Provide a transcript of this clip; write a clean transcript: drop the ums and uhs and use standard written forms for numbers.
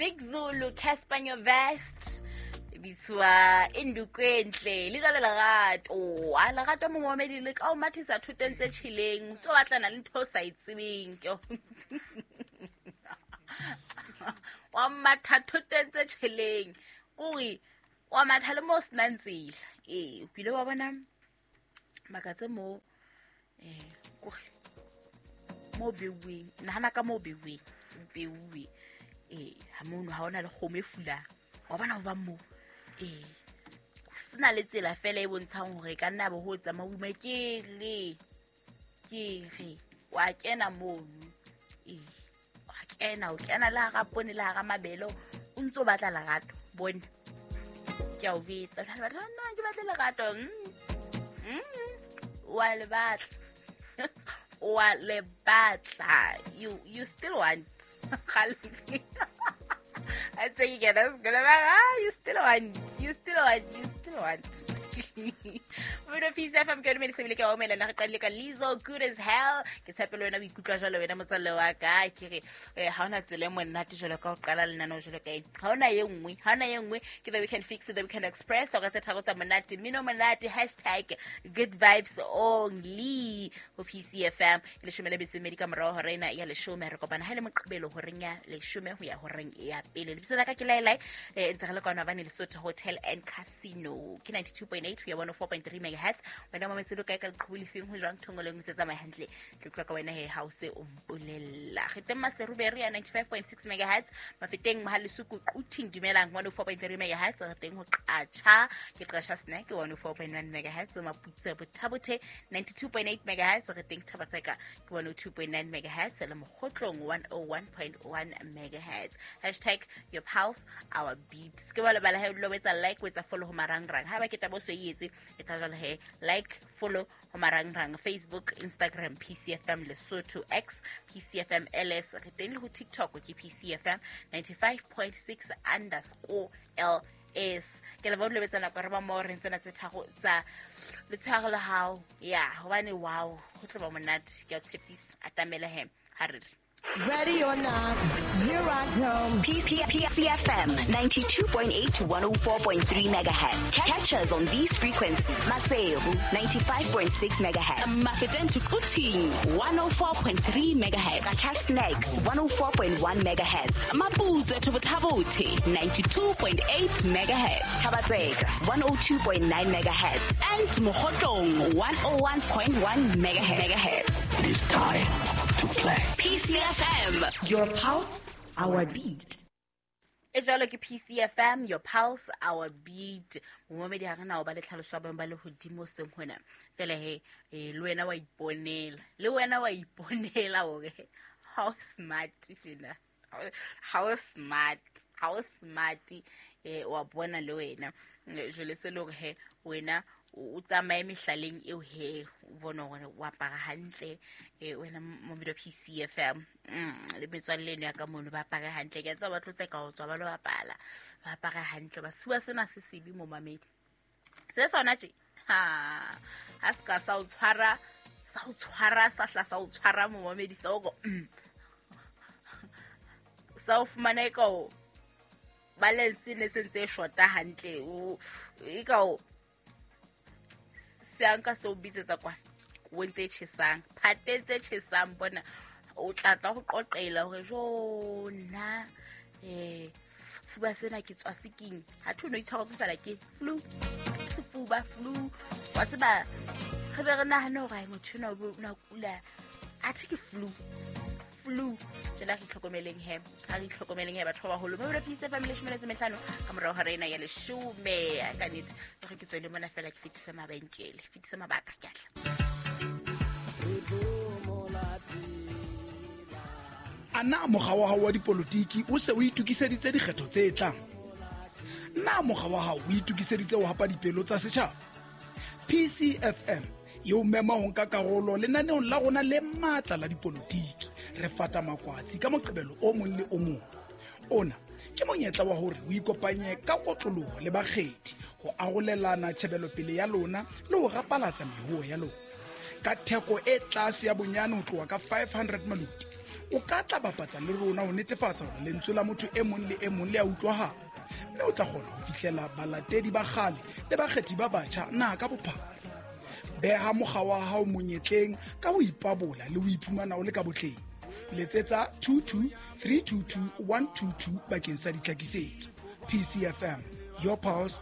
Big Zulu, Cassper Nyovest, bitswa Indukwentle le jwale lerato. A lerato momamedi le ka o mathisa thoteng tse tjheleng, tso batlana le ntho o sa e tsebeng. Wa matha thoteng tse tjheleng, kore wa matha le mo o senang tsela. Ee, o kile wa bona makatse mo kore mo beuweng, nahana ka mo beuweng, beuwe. Ee, ha mono ha hona le kgomo e fulang. Wa bona ho bang moo. Ee, sena le tsela fela e bontshang hore e ka nna bo ho tsamaya o ima ke re, ke re wa kena mono. Ee, wa kena, o kena le hara poone le hara mabele, o ntso batla lerato. Bone, ke a o betsa. Jwale batho ba, nna ke batle lerato. Wa le batla. Wa le batla. You still want. I think you get us gonna you still want, you still want, you still want. Mmino Peace FM ke yone medise ke wa omela re qadile ka Lizzo Good as Hell. Ke tshepe le wena o ikutlwa jwalo wena motswalle wa ka. Ke re ha hona tsela e monate jwalo ka ho qala lenaneo jwalo ka ena. Ha hona e nngwe, ha hona e nngwe ke The Weekend Fix, The Weekend Express. O ka tse tharo tsa monate, mmino monate, hashtag good vibes only ho PCFM. Ke leshome le metso e mmedi ka morao hora ena ya leshome. Re kopana ha e le Moqebelo horeng ya leshome ho ya horeng ya pele. Lebitso la ka ke Laelai, ntse re le kwano Habane Lesotho Hotel and Casino. Ke 92.8 ho ya 104.3 megahertz. Wena mametse lo kae ka leqhubu lefeng ho jwang thongo le nngwe tse tsamaya hantle. Ke utlwa ka wena he ha o se o mpolella. Re teng Maseru Berry ya 95.6 megahertz. Mafeteng Mohalesuku Quthing dumelang 104.3 megahertz. Re teng ho Qacha, ke Qacha Snack 104.1 megahertz. Maputse Bothabothe 92.8 megahertz. Re teng Thabatseka ke 102.9 megahertz. Le Mokgotlong 101.1 megahertz. Hashtag your pulse, our beat. Se ke wa lebala he o dula o etsa like, o etsa follow ho marangrang. Haeba ke taba o so e etse, etsa jwalo he. Like, follow ho marangrang. Facebook, Instagram, PCFM Lesotho, X, PCFM LS. Re teng le ho TikTok ke PCFM 95.6 underscore LS. Ke leboha o dula o etsa nako re ba mo re ntsena tse tharo tsa letshehare la hao. Ya, hobane wow, ho tlo ba monate. Ke a tshepisa, atamela he, ha re re. Ready or not, here I come. PCFM 92.8 to 104.3 megahertz. Catch us on these frequencies. Maseru 95.6 megahertz. Mafeteng to Quthing 104.3 megahertz. Qacha Snack 104.1 megahertz. Maputsoe to Bothabothe 92.8 megahertz. Thabatseka 102.9 megahertz. And Mokhotlong 101.1 megahertz. It is time to play. PCFM. Your pulse, our beat. E jwalo ke PCFM, your pulse, our beat. Momamedi ha re na ho ba le tlhaloso ya boemo ba lehodimo seng hona. Fela he, le wena wa iponela. Le wena wa iponela hore how smart tjena. How smart, how smart, wa bona le wena. Jwale se le hore he, wena o tsamaye mehlaleng eo he, o bone hore o apara hantle, wena momamedi wa PCFM. Le metswalle eno ya ka mono ba apare hantle. Ke a tseba ba tlo tseka ho tswa ba lo bapala, ba apare hantle. Ba sefuba sena se sebe momamedi. Se sona tje, ha, ha se ka sa o tshwara, sa o tshwara, sa hla sa o tshwara momamedi, sa o ko. Sa o fumana e ka o balance ne se ntse e shota hantle, o, e ka o se a nka se o bitsetsa kwana, o ntse e tjhesang, phate tse tjhesang bona, o tla tla ho qoqela hore jo nna, fuba sena ke tswa seking. Ha thwe no itshwaretse fela ke flu, sefuba, flu. Wa tseba, re be re nahane hore ai motho enwa o na kula, athe ke flu, flu. Jwale ha re itlhokomeleng he, ha re itlhokomeleng he batho ba baholo. Mme Peace FM leshome le metso e mehlano ka morao hora ena ya leshome. Ka nnete, e re ke tswele mona fela ke fetise mabenkele, fetise mabaka, ke a tla. A na mokga wa hao wa dipolotiki o se o itokiseditse dikgetho tse tlang? Na mokga wa hao o itokiseditse ho hapa dipelo tsa setjhaba? PCFM e o mema ho nka karolo lenaneong la rona le matla la dipolotiki. Re fata makwatsi ka Moqebelo o mong le o mong. Ona ke monyetla wa hore o ikopanye ka kotloloho le bakgethi ho arolelana tjhebelopele ya lona le ho rapalatsa mehuo ya lona. Ka theko e tlase ya bonyane ho tloha ka 500 maloti, O ka tla bapatsa le rona ho netefatsa hore lentswe la motho e mong le e mong le a utlwahala, mme o tla kgona ho fihlela balatedi ba kgale le bakgethi ba batjha naha ka bophara. Beha mokga wa hao monyetleng ka ho ipabola le ho iphumana o le ka botleng. Letsetsa 22 322 122 bakeng sa ditlhakisetso. PCFM, your pulse.